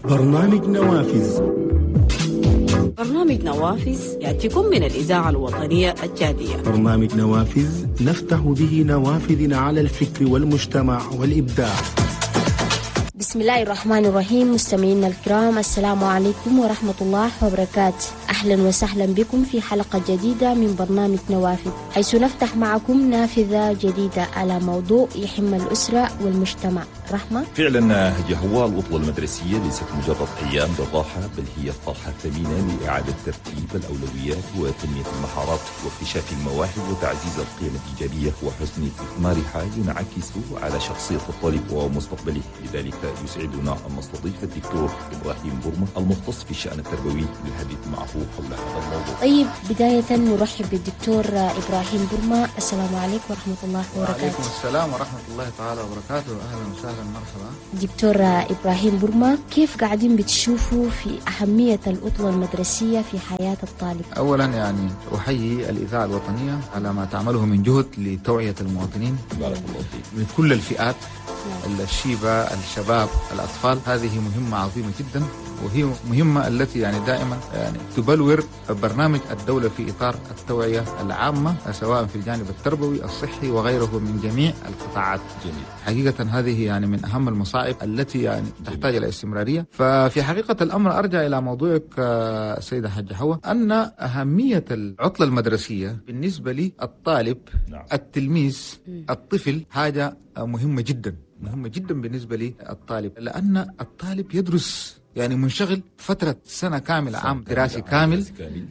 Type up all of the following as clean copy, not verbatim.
برنامج نوافذ. برنامج نوافذ يأتيكم من الإذاعة الوطنية التشادية. برنامج نوافذ نفتح به نوافذنا على الفكر والمجتمع والإبداع. بسم الله الرحمن الرحيم. مستمعينا الكرام، السلام عليكم ورحمة الله وبركاته. أهلا وسهلا بكم في حلقة جديدة من برنامج نوافذ، حيث نفتح معكم نافذة جديدة على موضوع يهم الأسرة والمجتمع. رحمة، فعلا هو العطلة المدرسية ليست مجرد أيام للراحة، بل هي فرصة ثمينة لإعادة ترتيب الأولويات وتنمية المهارات واكتشاف المواهب وتعزيز القيم الإيجابية وحسن استثمارها ينعكس على شخصية الطالب ومستقبله. لذلك يسعدنا أن نستضيف الدكتور إبراهيم برمة المختص في الشأن التربوي للحديث معه حول هذا الموضوع. طيب، بداية نرحب بالدكتور إبراهيم برمة. السلام عليكم ورحمة الله وبركاته. وعليكم السلام ورحمة الله تعالى وبركاته. أهلا وسهلا، مرحبا. دكتور إبراهيم برمة، كيف قاعدين بتشوفوا في أهمية العطلة المدرسية في حياة الطالب؟ أولا يعني أحيي الإذاعة الوطنية على ما تعمله من جهد لتوعية المواطنين. بارك الله فيك. من كل الفئات، الشيبة، الشباب، الأطفال. هذه مهمة عظيمة جدا، وهي مهمة التي يعني دائما يعني تبلور برنامج الدولة في إطار التوعية العامة، سواء في الجانب التربوي، الصحي وغيره من جميع القطاعات. جميل. حقيقة هذه يعني من أهم المصاعب التي يعني تحتاج إلى استمرارية. ففي حقيقة الأمر أرجع إلى موضوعك السيدة حاجة حوا، أن أهمية العطلة المدرسية بالنسبة للطالب، نعم، التلميذ، الطفل، حاجة مهمة جدا، مهمة جدا بالنسبة للطالب، لأن الطالب يدرس يعني منشغل فترة سنة كاملة، عام دراسي كامل،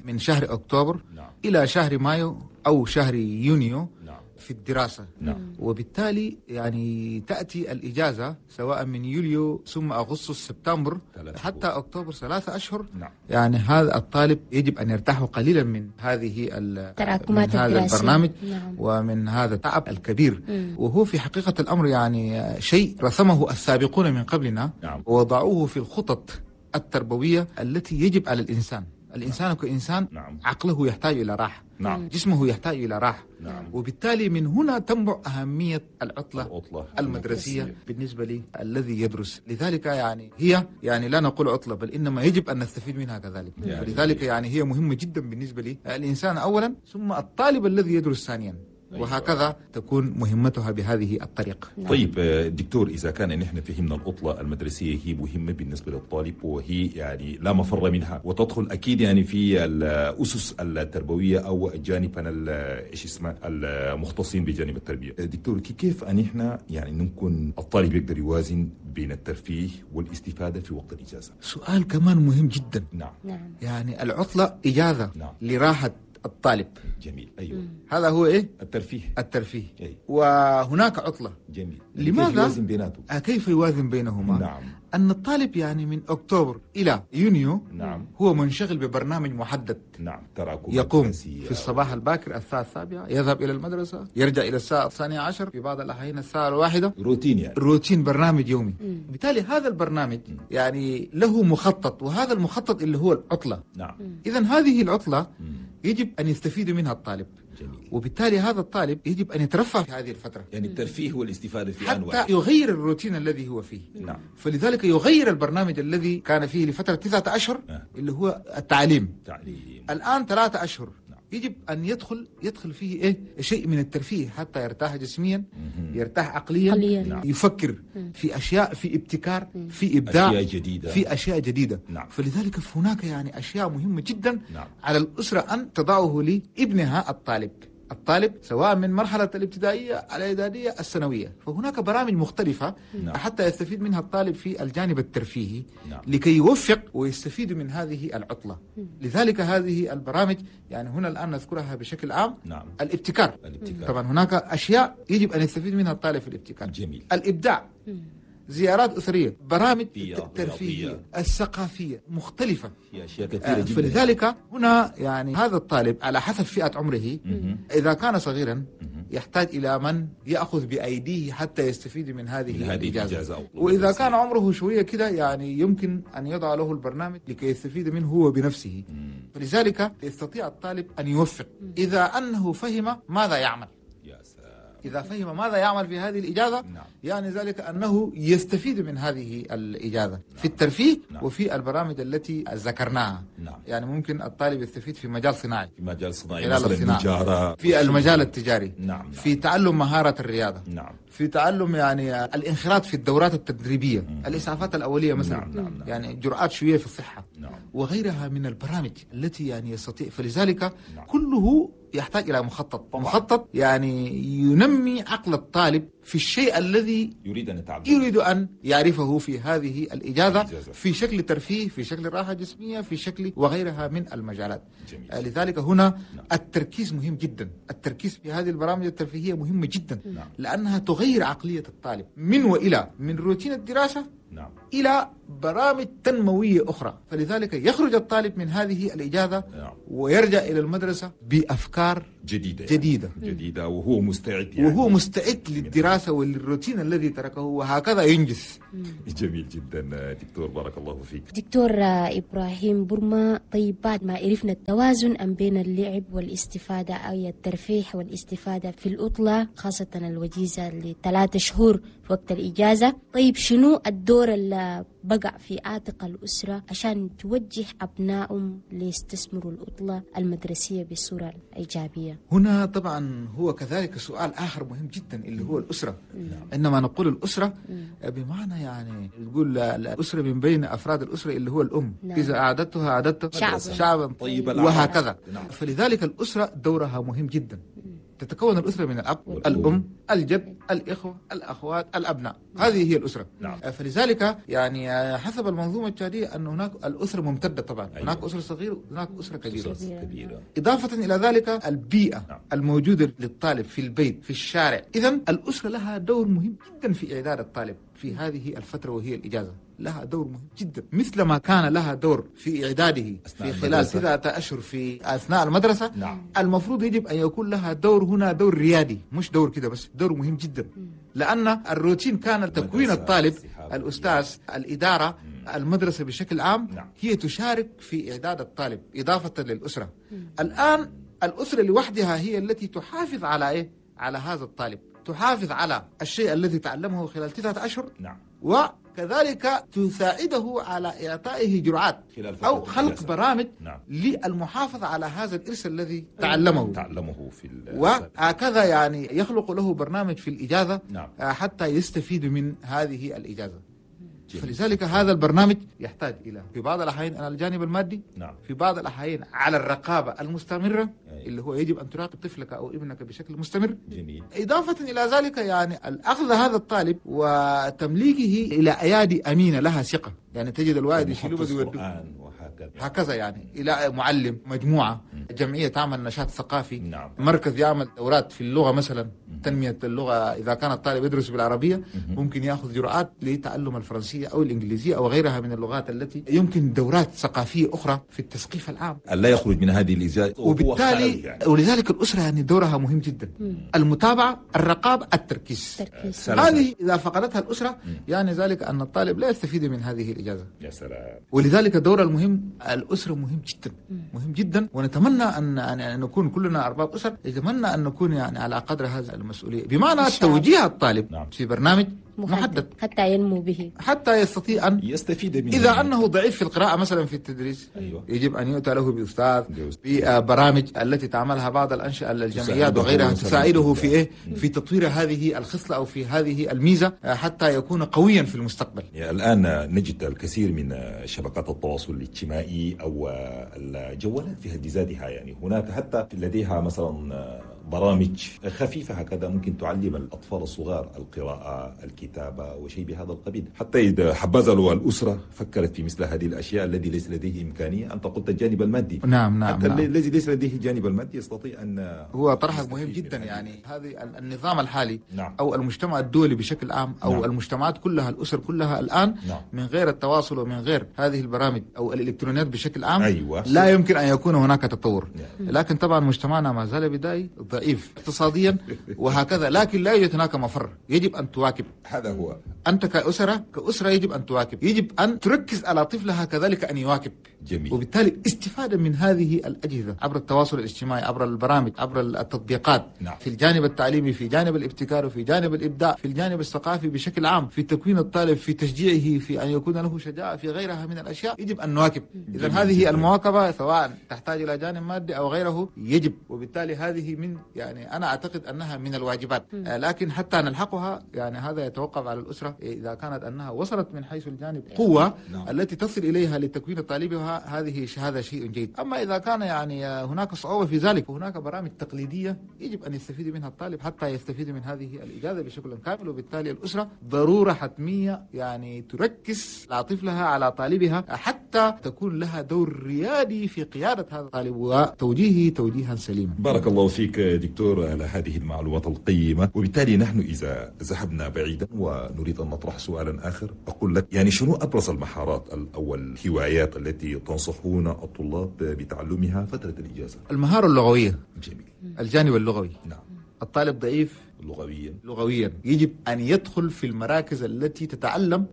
من شهر أكتوبر، نعم، إلى شهر مايو أو شهر يونيو، نعم، في الدراسة. نعم. وبالتالي يعني تأتي الإجازة سواء من يوليو ثم أغسطس سبتمبر حتى أكتوبر، 3 أشهر. نعم. يعني هذا الطالب يجب أن يرتاح قليلا من هذه تراكمات من هذا البرنامج، نعم، ومن هذا التعب الكبير. وهو في حقيقة الأمر يعني شيء رسمه السابقون من قبلنا، نعم، ووضعوه في الخطط التربوية التي يجب على الإنسان. الإنسان كإنسان، نعم، عقله يحتاج إلى راحة، نعم، جسمه يحتاج إلى راحة، نعم. وبالتالي من هنا تنبع أهمية العطلة المدرسية بالنسبة لي الذي يدرس. لذلك يعني هي يعني لا نقول عطلة، بل إنما يجب أن نستفيد منها كذلك. يعني فلذلك يعني هي مهمة جدا بالنسبة لي الإنسان أولا، ثم الطالب الذي يدرس ثانيا. وهكذا تكون مهمتها بهذه الطريقة. طيب دكتور، إذا كان نحن فهمنا العطلة المدرسية هي مهمة بالنسبة للطالب، وهي يعني لا مفر منها، وتدخل أكيد يعني في الأسس التربوية أو الجانب إيش اسمه المختصين بجانب التربية. دكتور، كيف أن نحن يعني ممكن الطالب يقدر يوازن بين الترفيه والاستفادة في وقت الإجازة؟ سؤال كمان مهم جدا. نعم. نعم. يعني العطلة إجازة، نعم، لراحة الطالب. جميل. أيوة. هذا هو إيه؟ الترفيه. الترفيه. أي. وهناك عطلة. جميل. لماذا؟ كيف يوازن بيناتهم؟ كيف يوازن بينهما؟ نعم. أن الطالب يعني من أكتوبر إلى يونيو، نعم، هو منشغل ببرنامج محدد. نعم. تراكم. يقوم في الصباح الباكر الساعة 7، يذهب إلى المدرسة، يرجع إلى الساعة 12، في بعض الأحيان الساعة 1. روتين يعني. روتين، برنامج يومي. بالتالي هذا البرنامج يعني له مخطط، وهذا المخطط اللي هو العطلة. نعم. إذا هذه العطلة يجب أن يستفيد منها الطالب. جميل. وبالتالي هذا الطالب يجب أن يترفه في هذه الفترة، يعني الترفيه والاستفادة في آن واحد، حتى يغير الروتين الذي هو فيه. نعم. فلذلك يغير البرنامج الذي كان فيه لفترة 9 أشهر، اللي هو التعليم. تعليم. الآن 3 أشهر. نعم. يجب أن يدخل فيه إيه؟ شيء من الترفيه حتى يرتاح جسميا، يرتاح عقليا، نعم، يفكر في أشياء، في ابتكار، في إبداع، أشياء جديدة، في أشياء جديدة. نعم. فلذلك هناك يعني أشياء مهمة جدا، نعم، على الأسرة أن تضعه لابنها الطالب. الطالب سواء من مرحلة الابتدائية، الإعدادية، الثانوية، فهناك برامج مختلفة، نعم، حتى يستفيد منها الطالب في الجانب الترفيهي، نعم، لكي يوفق ويستفيد من هذه العطلة. لذلك هذه البرامج يعني هنا الآن نذكرها بشكل عام. نعم. الابتكار. الابتكار. طبعا هناك أشياء يجب أن يستفيد منها الطالب في الابتكار. جميل. الإبداع، زيارات أسرية، برامج الترفيهية، رياضية، الثقافية مختلفة، في أشياء كثيرة جدا. فلذلك هنا يعني هذا الطالب على حسب فئة عمره، إذا كان صغيرا يحتاج إلى من يأخذ بأيديه حتى يستفيد من هذه الإجازة، وإذا كان عمره شوية كده يعني يمكن أن يضع له البرنامج لكي يستفيد منه هو بنفسه. فلذلك يستطيع الطالب أن يوفق إذا أنه فهم ماذا يعمل. يا سلام. إذا فهم ماذا يعمل في هذه الإجازة، نعم. يعني ذلك أنه يستفيد من هذه الإجازة، نعم. في الترفيه، نعم. وفي البرامج التي ذكرناها. نعم. يعني ممكن الطالب يستفيد في مجال صناعي، في مجال صناعي خلال مثلا الصناعة، التجارة، في المجال التجاري، نعم. نعم. في تعلم مهارة الرياضة، نعم. في تعلم يعني الانخراط في الدورات التدريبية، الإسعافات الأولية مثلا، نعم. نعم. نعم. يعني جرعات شوية في الصحة، نعم. وغيرها من البرامج التي يعني يستطيع. فلذلك نعم. كله يحتاج إلى مخطط، طبعا. مخطط يعني ينمي عقل الطالب في الشيء الذي يريد أن يتعلم، يريد أن يعرفه في هذه الإجازة، في شكل ترفيه، في شكل راحة جسمية، في شكل وغيرها من المجالات. جميل. لذلك هنا نعم. التركيز مهم جدا، التركيز في هذه البرامج الترفيهية مهم جدا، نعم. لأنها تغير عقلية الطالب من وإلى، من روتين الدراسة نعم. إلى برامج تنموية أخرى. فلذلك يخرج الطالب من هذه الإجازة نعم. ويرجع إلى المدرسة بأفكار جديدة، جديدة. يعني. جديدة، وهو مستعد يعني. وهو مستعد للدراسة وللروتين الذي تركه، وهكذا ينجز. جميل جدا دكتور، بارك الله فيك. دكتور إبراهيم برما، طيب بعد ما عرفنا التوازن أم بين اللعب والاستفادة أو الترفيه والاستفادة في العطلة، خاصة الوجيزة ل3 شهور في وقت الإجازة، طيب شنو الدور اللي بقع في عاتق الأسرة عشان توجه أبنائهم ليستثمروا العطلة المدرسية بصورة إيجابية؟ هنا طبعا هو كذلك سؤال آخر مهم جدا اللي هو الأسرة. عندما نقول الأسرة بمعنى يعني تقول الأسرة من بين أفراد الأسرة اللي هو الأم، نعم. إذا أعددتها أعددت شعبا طيبا وهكذا. نعم. فلذلك الأسرة دورها مهم جدا. تتكون الأسرة من الأب، الأم، الجد، الإخوة، الأخوات، الأبناء. هذه هي الأسرة. نعم. فلذلك يعني حسب المنظومة التشادية أن هناك الأسرة ممتدة طبعا. أيوة. هناك أسرة صغيرة وهناك أسرة كبيرة. كبيرة. إضافة إلى ذلك البيئة نعم. الموجودة للطالب في البيت، في الشارع. إذن الأسرة لها دور مهم جدا في إعداد الطالب في هذه الفترة وهي الإجازة. لها دور مهم جدا، مثل ما كان لها دور في إعداده في خلال 9 أشهر في أثناء المدرسة. نعم. المفروض يجب أن يكون لها دور هنا، دور ريادي، مش دور كده بس، دور مهم جدا. لأن الروتين كان تكوين الطالب، الأستاذ، الإدارة، المدرسة بشكل عام، نعم. هي تشارك في إعداد الطالب إضافة للأسرة. الآن الأسرة لوحدها هي التي تحافظ على إيه؟ على هذا الطالب، تحافظ على الشيء الذي تعلمه خلال 9 أشهر، نعم. وكذلك تساعده على إعطائه جرعات أو خلق برامج نعم. للمحافظة على هذا الإرث الذي تعلمه في وهكذا يعني يخلق له برنامج في الإجازة، نعم. حتى يستفيد من هذه الإجازة. فلذلك هذا البرنامج يحتاج إلى في بعض الأحيان على الجانب المادي، نعم. في بعض الأحيان على الرقابة المستمرة، أي. اللي هو يجب أن تراقب طفلك أو ابنك بشكل مستمر. جميل. إضافة إلى ذلك يعني الأخذ هذا الطالب وتمليكه إلى أيادي أمينة لها ثقة، يعني تجد الوالد يشيله ويوديه هكذا يعني إلى معلم، مجموعة، جمعية تعمل نشاط ثقافي، نعم. مركز يعمل دورات في اللغة مثلا، تنمية اللغة. إذا كان الطالب يدرس بالعربية ممكن يأخذ جرعات لتعلم الفرنسية أو الإنجليزية أو غيرها من اللغات التي يمكن، دورات ثقافية أخرى في التثقيف العام. لا يخرج من هذه الإجازة، وبالتالي يعني. ولذلك الأسرة يعني دورها مهم جدا. المتابعة، الرقابة، التركيز. هذه إذا فقدتها الأسرة يعني ذلك أن الطالب لا يستفيد من هذه الإجازة. يا سلام. ولذلك الدور المهم الأسرة مهم جدا، مهم جدا. ونتمنى أن نكون كلنا أرباب أسر، نتمنى أن نكون يعني على قدر هذه المسؤولية، بمعنى توجيه الطالب نعم. في برنامج محدد حتى ينمو به، حتى يستطيع أن يستفيد منه. إذا أنه ضعيف في القراءة مثلا في التدريس، أيوة. يجب أن يؤتى له بأستاذ، ببرامج التي تعملها بعض الأنشئة الجمعيات وغيرها تساعده في إيه؟ في تطوير هذه الخصلة أو في هذه الميزة حتى يكون قويا في المستقبل. يعني الآن نجد الكثير من شبكات التواصل الاجتماعي أو الجوالات في حد ذاتها، يعني هناك حتى لديها مثلا برامج خفيفة هكذا ممكن تعلم الأطفال الصغار القراءة، الكتابة وشيء بهذا القبيل. حتى إذا حبذا لو الأسرة فكرت في مثل هذه الأشياء، الذي ليس لديه إمكانية. أنت قلت الجانب المادي، نعم نعم، حتى نعم. الذي ليس لديه الجانب المادي يستطيع أن هو طرح مهم جدا. يعني هذه النظام الحالي، نعم. أو المجتمع الدولي بشكل عام، أو نعم. المجتمعات كلها، الأسر كلها الآن، نعم. من غير التواصل ومن غير هذه البرامج أو الإلكترونيات بشكل عام، أيوة. لا يمكن أن يكون هناك تطور. نعم. لكن طبعا مجتمعنا ما زال بدائي ضعيف اقتصاديا وهكذا، لكن لا يوجد هناك مفر، يجب أن تواكب. هذا هو. أنت كأسرة يجب أن تواكب، يجب أن تركز على طفلها كذلك أن يواكب. جميل. وبالتالي استفادة من هذه الأجهزة عبر التواصل الاجتماعي، عبر البرامج، عبر التطبيقات. نعم. في الجانب التعليمي، في جانب الابتكار، وفي جانب الإبداع، في الجانب الثقافي بشكل عام، في تكوين الطالب، في تشجيعه، في أن يكون له شجاعة، في غيرها من الأشياء، يجب أن نواكب. إذا هذه المواكبة سواء تحتاج إلى جانب مادي أو غيره يجب، وبالتالي هذه من يعني أنا أعتقد أنها من الواجبات، لكن حتى نلحقها يعني هذا يتوقف على الأسرة إذا كانت أنها وصلت من حيث الجانب قوة. نعم. التي تصل إليها لتكوين طالبها، هذا شيء جيد. أما إذا كان يعني هناك صعوبة في ذلك، وهناك برامج تقليدية يجب أن يستفيد منها الطالب حتى يستفيد من هذه الإجازة بشكل كامل. وبالتالي الأسرة ضرورة حتمية يعني تركز على طفلها، على طالبها، حتى تكون لها دور ريادي في قيادة هذا الطالب وتوجيهه توجيها سليما. بارك الله فيك دكتور على هذه المعلومات القيمة. وبالتالي نحن إذا ذهبنا بعيدا ونريد أن نطرح سؤالا آخر، أقول لك يعني شنو أبرز المهارات أو الهوايات التي تنصحون الطلاب بتعلمها فترة الإجازة؟ المهارة اللغوية. جميل. الجانب اللغوي. نعم. الطالب ضعيف لغويا، يجب أن يدخل في المراكز التي تتعلم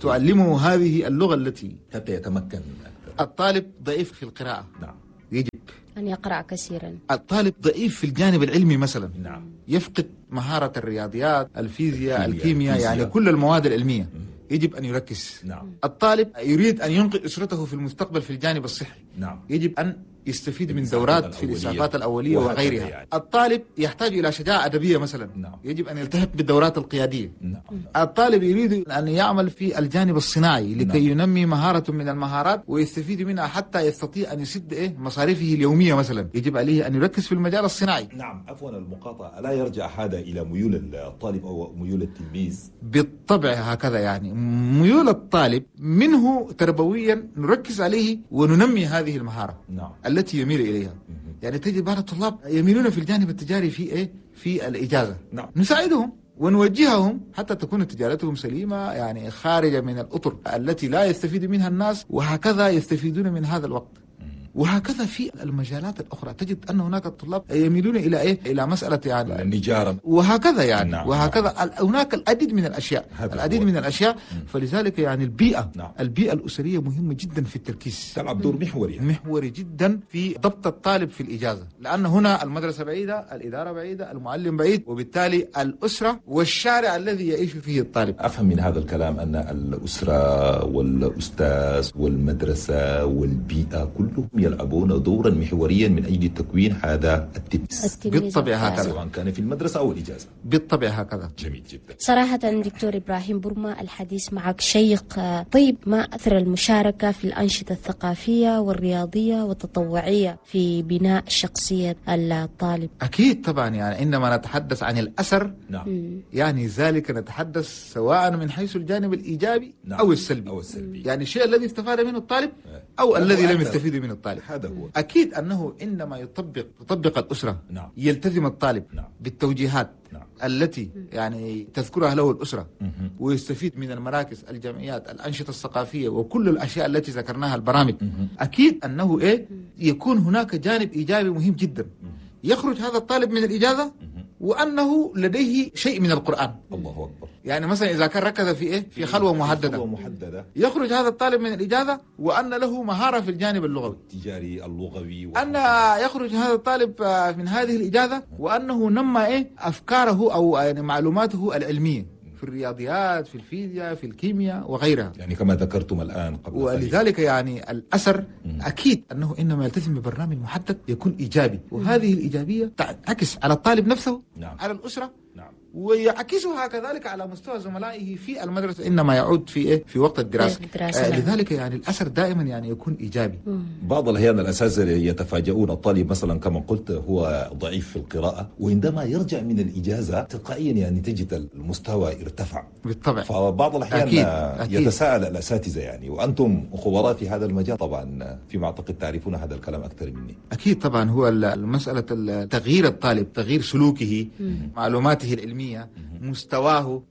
تعلمه هذه اللغة التي حتى يتمكن أكثر. الطالب ضعيف في القراءة. نعم. يجب أن يقرأ كثيرا. الطالب ضعيف في الجانب العلمي مثلا. نعم. يفقد مهارة الرياضيات، الفيزياء، الكيمياء، يعني كل المواد العلمية. يجب أن يركز. نعم. الطالب يريد أن ينقذ أسرته في المستقبل في الجانب الصحي. نعم. يجب أن يستفيد من دورات في الإسعافات الأولية وغيرها. يعني. الطالب يحتاج إلى شجاعة أدبية مثلا. نعم. يجب أن يلتحق بالدورات القيادية. نعم. الطالب يريد أن يعمل في الجانب الصناعي لكي نعم. ينمي مهارة من المهارات ويستفيد منها حتى يستطيع أن يسد مصاريفه اليومية مثلا. يجب عليه أن يركز في المجال الصناعي. نعم. عفوا المقاطعة، لا يرجع هذا إلى ميول الطالب أو ميول التلميذ؟ بالطبع هكذا، يعني ميول الطالب منه تربويا نركز عليه وننمي هذه المهارة. نعم. التي يميل إليها. يعني تجد بعض الطلاب يميلون في الجانب التجاري في في الإجازة. نعم. نساعدهم ونوجههم حتى تكون تجارتهم سليمة، يعني خارجة من الأطر التي لا يستفيد منها الناس، وهكذا يستفيدون من هذا الوقت. وهكذا في المجالات الأخرى تجد أن هناك الطلاب يميلون إلى إلى مسألة يعني النجارة وهكذا يعني. نعم. وهكذا هناك العديد من الأشياء، العديد من الأشياء. فلذلك يعني البيئة. نعم. البيئة الأسرية مهمة جدا في التركيز، تلعب دور محوري يعني. محوري جدا في ضبط الطالب في الإجازة، لأن هنا المدرسة بعيدة، الإدارة بعيدة، المعلم بعيد، وبالتالي الأسرة والشارع الذي يعيش فيه الطالب. أفهم من هذا الكلام أن الأسرة والأستاذ والمدرسة والبيئة كلهم يلعبون دورا محوريا من أجل تكوين هذا التلميذ. بالطبع هكذا، سواء كان في المدرسة أو الإجازة. بالطبع هكذا. جميل جدا. صراحة دكتور إبراهيم برما، الحديث معك شيق. طيب، ما أثر المشاركة في الأنشطة الثقافية والرياضية والتطوعية في بناء شخصية الطالب؟ أكيد طبعا، يعني عندما نتحدث عن الأثر، نعم. يعني ذلك نتحدث سواء من حيث الجانب الإيجابي، نعم. أو السلبي. يعني الشيء الذي استفاد منه الطالب أو الذي لم يستفيد منه الطالب. هذا هو. أكيد أنه إنما تطبق الأسرة، نعم. يلتزم الطالب، نعم. بالتوجيهات، نعم. التي يعني تذكرها له الأسرة، ويستفيد من المراكز، الجمعيات، الأنشطة الثقافية وكل الأشياء التي ذكرناها، البرامج. أكيد أنه يكون هناك جانب إيجابي مهم جدا. يخرج هذا الطالب من الإجازة وأنه لديه شيء من القرآن. الله أكبر. يعني مثلا إذا كان ركز في في خلوة محددة، يخرج هذا الطالب من الإجازة وأن له مهارة في الجانب اللغوي التجاري اللغوي، أن يخرج هذا الطالب من هذه الإجازة وأنه نمى أفكاره أو يعني معلوماته العلمية في الرياضيات، في الفيزياء، في الكيمياء وغيرها. يعني كما ذكرتم الآن قبل. ولذلك يعني الأثر أكيد أنه إنما يلتزم ببرنامج محدد يكون إيجابي، وهذه الإيجابية تعكس على الطالب نفسه، نعم. على الأسرة، نعم. ويعكسها كذلك على مستوى زملائه في المدرسة إنما يعود في في وقت الدراسة. لذلك يعني الأثر دائما يعني يكون إيجابي. بعض الأحيان الأساتذة يتفاجؤون، الطالب مثلا كما قلت هو ضعيف في القراءة، وعندما يرجع من الإجازة تلقائيا يعني تجد المستوى ارتفع. بالطبع. فبعض الأحيان أكيد. أكيد. يتساءل الأساتذة يعني، وأنتم خبراء في هذا المجال طبعا، فيما أعتقد تعرفون هذا الكلام أكثر مني. أكيد طبعا، هو المسألة تغيير الطالب، تغيير سلوكه، معلوماته العلمية، مستواه،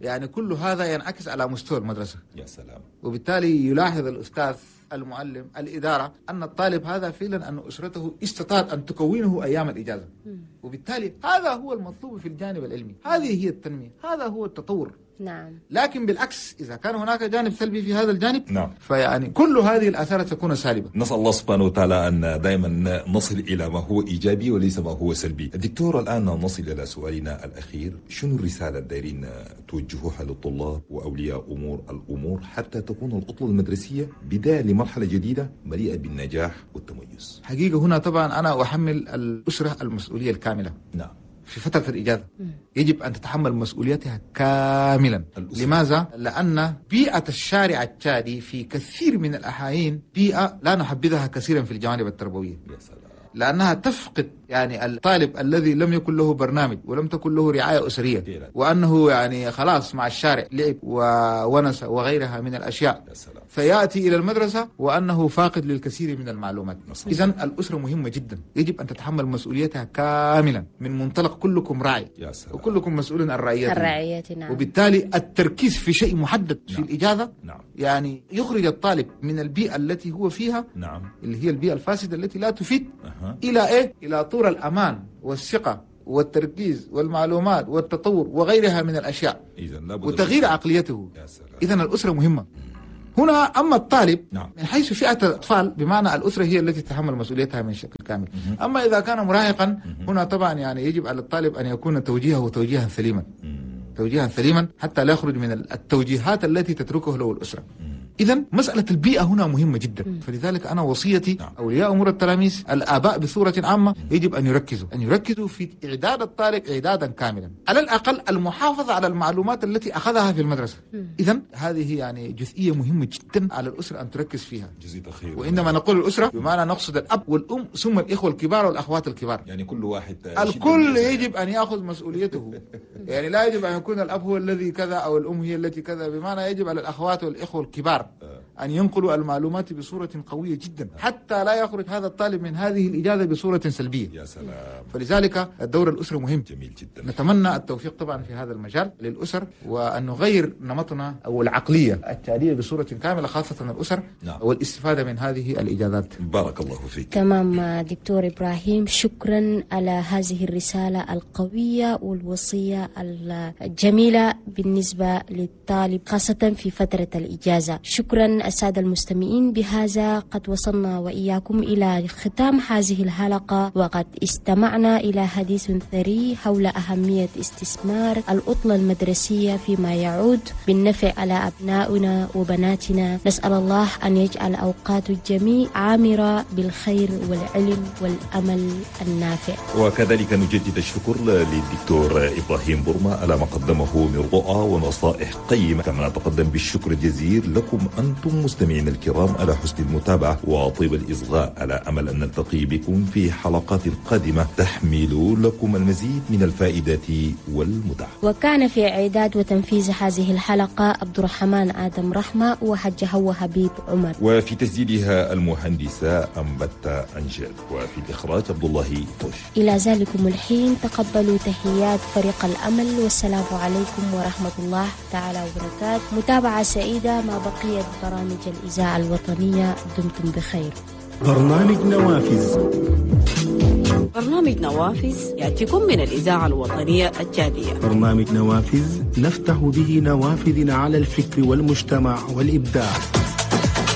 يعني كل هذا ينعكس على مستوى المدرسة. يا سلام. وبالتالي يلاحظ الأستاذ المعلم الإدارة أن الطالب هذا فعلا أن أسرته استطاعت أن تكونه أيام الإجازة. وبالتالي هذا هو المطلوب في الجانب العلمي، هذه هي التنمية، هذا هو التطور. نعم. لكن بالعكس إذا كان هناك جانب سلبي في هذا الجانب، نعم، فيعني كل هذه الآثار تكون سالبة. نسأل الله سبحانه وتعالى أن دائما نصل إلى ما هو إيجابي وليس ما هو سلبي. دكتور، الآن نصل إلى سؤالنا الأخير، شنو الرسالة الدايرين توجهوها للطلاب وأولياء الأمور حتى تكون العطلة المدرسية بداية لمرحلة جديدة مليئة بالنجاح والتميز؟ حقيقة هنا طبعا أنا أحمل الأسرة المسؤولية الكاملة. نعم. في فترة الإجازة يجب أن تتحمل مسؤوليتها كاملا. الأسرة. لماذا؟ لأن بيئة الشارع التشادي في كثير من الأحايين بيئة لا نحبذها كثيرا في الجوانب التربوية. يا سلام. لأنها تفقد يعني الطالب الذي لم يكن له برنامج ولم تكن له رعاية أسرية، وأنه يعني خلاص مع الشارع لعب وونس وغيرها من الأشياء، فيأتي إلى المدرسة وأنه فاقد للكثير من المعلومات. إذن الأسرة مهمة جدا، يجب أن تتحمل مسؤوليتها كاملا من منطلق كلكم راعي وكلكم مسؤول عن رعيته. نعم. وبالتالي التركيز في شيء محدد في نعم. الإجازة نعم. يعني يخرج الطالب من البيئة التي هو فيها، نعم، اللي هي البيئة الفاسدة التي لا تفيد، إلى إيه؟ إلى طور الأمان والثقة والتركيز والمعلومات والتطور وغيرها من الأشياء، وتغيير عقليته. إذن الأسرة مهمة هنا. أما الطالب نعم. من حيث فئة الأطفال، بمعنى الأسرة هي التي تتحمل مسؤوليتها من شكل كامل. أما إذا كان مراهقا هنا طبعا يعني يجب على الطالب أن يكون توجيهه توجيها سليما، توجيها سليما حتى لا يخرج من التوجيهات التي تتركه له الأسرة. إذن مسألة البيئة هنا مهمة جدا. فلذلك أنا وصيتي أولياء أمور التلاميذ، الآباء بصورة عامة، يجب أن يركزوا في إعداد الطالب إعدادا كاملا، على الأقل المحافظة على المعلومات التي أخذها في المدرسة. إذن هذه يعني جزئية مهمة جدا على الأسرة أن تركز فيها. جزيت خير. وعندما نقول الأسرة بمعنى نقصد الأب والأم ثم الإخوة الكبار والأخوات الكبار، يعني كل واحد، الكل يجب أن يأخذ مسؤوليته. يعني لا يجب أن يكون الأب هو الذي كذا أو الأم هي التي كذا، بمعنى يجب على الأخوات والإخوة الكبار أن ينقلوا المعلومات بصورة قوية جدا حتى لا يخرج هذا الطالب من هذه الإجازة بصورة سلبية. يا سلام. فلذلك الدور الأسري مهم. جميل جدا. نتمنى التوفيق طبعا في هذا المجال للأسر، وأن نغير نمطنا أو العقلية التالية بصورة كاملة، خاصة الأسر، نعم، والاستفادة من هذه الإجازات. بارك الله فيك. تمام دكتور إبراهيم، شكرا على هذه الرسالة القوية والوصية الجميلة بالنسبة للطالب خاصة في فترة الإجازة. شكرا السادة المستمعين، بهذا قد وصلنا وإياكم إلى ختام هذه الحلقة، وقد استمعنا إلى حديث ثري حول أهمية استثمار العطلة المدرسية فيما يعود بالنفع على أبنائنا وبناتنا. نسأل الله أن يجعل أوقات الجميع عامرة بالخير والعلم والأمل النافع. وكذلك نجدد الشكر للدكتور إبراهيم برما على ما قدمه من رؤى ونصائح قيمة، كما نتقدم بالشكر الجزيل لكم أنتم مستمعين الكرام على حسن المتابعة وطيب الإصغاء، على أمل أن نلتقي بكم في حلقات قادمة تحمل لكم المزيد من الفائدة والمتعة. وكان في إعداد وتنفيذ هذه الحلقة عبد الرحمن آدم رحمة وحج هو حبيب عمر، وفي تسجيلها المهندسة أنبت أنجل، وفي الإخراج عبد الله طوش. إلى ذلكم الحين تقبلوا تحيات فريق الأمل، والسلام عليكم ورحمة الله تعالى وبركاته. متابعة سعيدة مع بقية برامج الإذاعة الوطنية، دمتم بخير. برنامج نوافذ. برنامج نوافذ يأتيكم من الإذاعة الوطنية التشادية. برنامج نوافذ نفتح به نوافذنا على الفكر والمجتمع والإبداع.